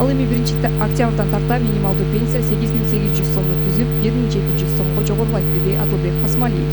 Ал эми 1-октябрдан тарта минималдуу пенсия 8800 сомду түзүп, 1700 сомго жогорулайт, деди Адылбек Касмалиев.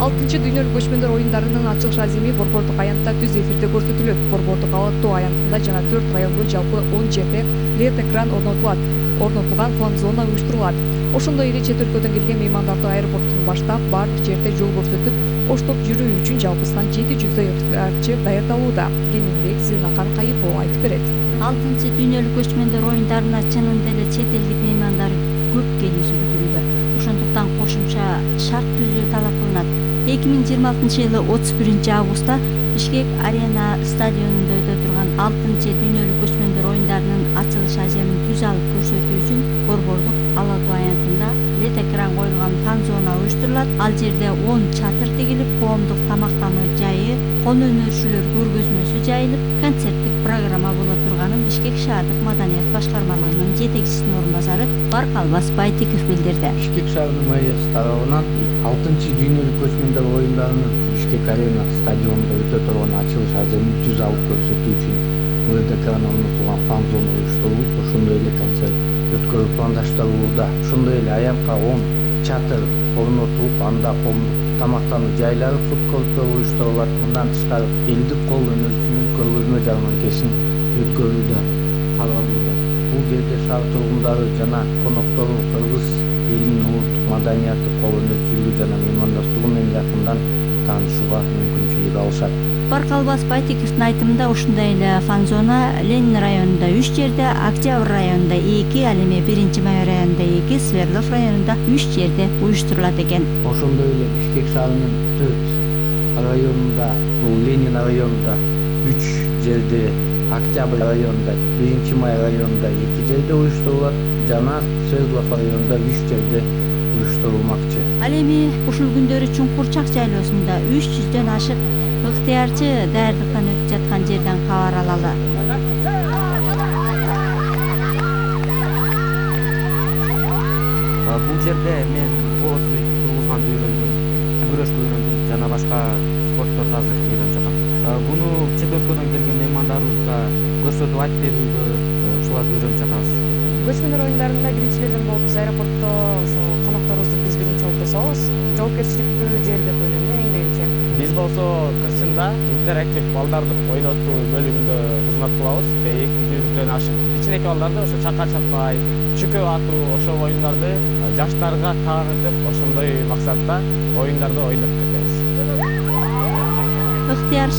6-дүйнөлүк көчмөндөр оюндарынын ачылыш аземи Борбордук аянтта түз эфирде көрсөтүлөт. Борбордук Ала Тоо аянтында жана 4 райондо жалпы 10 жерде LED экран орнотулган фан-зона уюштурулат. Ошондой эле чет өлкөдөн келген меймандарды аэропорттон баштап баардык жерде жол көрсөтүп, оштоп жүрүү үчүн жалпысынан 700 ыктыярчы даярдалууда. Кененирээк Зыйнакан Кайыпова айтып берет. 6-дүйнөлүк көчмөндөр оюндарына чынында эле чет элдик меймандар көп келүүсү күтүлүүдө. Ошондуктан кошумча шарт түзүү талап кылынат. 2026-жылы 31-августта Бишкек Арена стадионунда өтө турган 6-дүйнөлүк көчмөндөр оюндарынын ачылыш аземин түз алып көрсөтүү үчүн Борбордук Ала Тоо аянтында LED экран коюлган фан-зона уюштурулат. Ал жерде 10 чатыр тигилип, коомдук тамактануу жайы, кону өнөрчүлөр көргөзмөсү жайылып, концерттик программа боло турганын Бишкек шаардык маданият башкармалыгынын жетекчисинин орун басары Баркалбас Байтиков билдирди. Бишкек шаарынын мэриясы тарабынан 6-дүйнөлүк көчмөндөр оюндарынын Бишкек Арена стадионунда өтө турган ачылыш аземин түз алып көрсөтүү үчүн LED экран орнотулган фан-зона уюштурулуп, ошондой эле концерт өткөрүү пландаштырылууда. Ошондой эле аянтка 10 чатыр орнотулуп, анда коомдук тамактануу жайлары, фуд-корттор уюштурулат. Мындан тышкары элдик кол өнөрчүнүн көргөзмө жарманкесин өткөрүүдө каралууда. Бул жерде шаар тургундары жана коноктору кыргыз элинин улуттук маданияты, кол өнөрчүлүгү жана меймандостугу менен жакындан таанышууга мүмкүнчүлүк алышат. Баркалбас Байтиковдун айтымында ушундай эле фан-зона Ленин районунда 3 жерде, Октябрь районунда 2, ал эми 1-Май районунда 2, Свердлов районунда 3 жерде уюштурулат экен. Ошондой эле Бишкек шаарынын 4 районунда, бул Ленин районунда 3 жерде, Октябрь районунда, 1-Май районунда 2 жерде уюштурулат жана Свердлов районунда 3 жерде уюштурулмакчы. Ал эми ушул күндөрү Чуңкурчак жайлоосунда 300дөн ашык ыктыярчы даярдыктан өтүп жаткан жерден кабар алалы. Бул жерде мен боосу тургузганды үйрөндүм, күрөшкө үйрөндүм жана башка спортторду азыр үйрөнүп жатам. Буну чет өлкөдөн келген меймандарыбызга көрсөтүп айтып берүүдө ушуларды үйрөнүп жатабыз. Көчмөндөр оюндарында биринчилерден болуп, биз аэропортто ошо конокторубузду биз биринчи болуп тособуз. Жоопкерчиликтүү жер деп ойлойм эң биринчи. Биз болсо кырсында интерактив балдарды ойнотуу бөлүгүндө кызмат кылабыз. 200дөн ашык кичинекей балдарды ошо чакан чапкай, чүкөп атуу, ошол оюндарды жаштарга таанытып, ошондой максатта оюндарды ойноп кетебиз. Ыктыяр